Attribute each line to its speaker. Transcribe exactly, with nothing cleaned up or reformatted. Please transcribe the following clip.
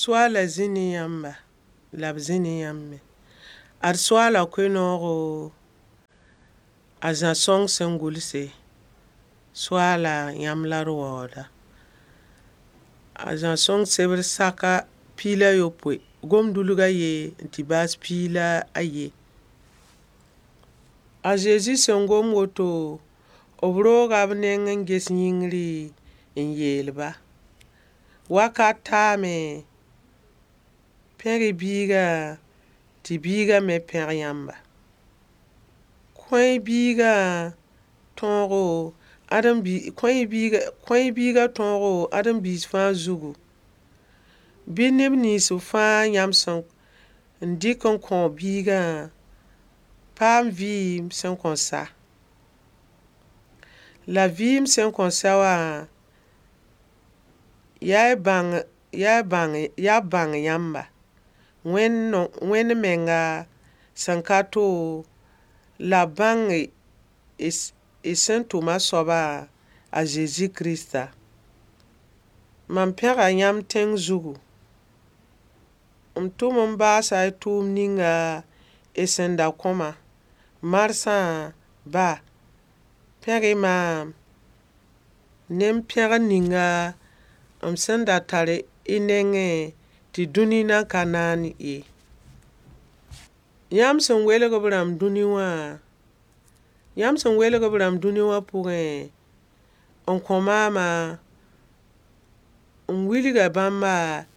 Speaker 1: Soaala zĩ ne yãmba, la b zĩ ne yãmb me. Ad Soaala koe-noogo, a Zã sõng sẽn gʋlse, Soaala yãmb la d waooda. A Zã sõng sebr saka piig la a yopoe, gom-dulg a ye n tɩ baas piig la a ye. A Zezi sẽn gom woto, b rooga b neng n ges yĩngri n yeel-ba: wakat taame, pẽg-y biigã tɩ biigã me pẽg yãmba. Kõ-y biigã tõogo, ãdem-bi kõ-y kõ-y biigã tõogo ãdem-biis fãa zugu. Bɩ neb nins fãa yãmb sẽn n dɩk n kõ biigã paam vɩɩm sẽn kõn sa. La vɩɩm sẽn kõn sa wã, yaa y bãng yaa y bãng yaa b bãng yãmba, Wẽnd menga sẽn ka to, la b bãng y sẽn tʋm a soaba, a Zezi Kirista. Mam pẽga yãmb tẽng zugu. M tʋm n baasa y tʋʋm ninga y sẽn da kõ-ma. Marsã ba, pẽg-y maam ne m pẽgr ninga m sẽn da tar y nengẽ tɩ dũni nan ka naan ye. Yãmb sẽn welg b rãmb dũni wã, yãmb sẽn welg b rãmb dũni wã pʋgẽ, n kõ maamã, m wilga bãmba.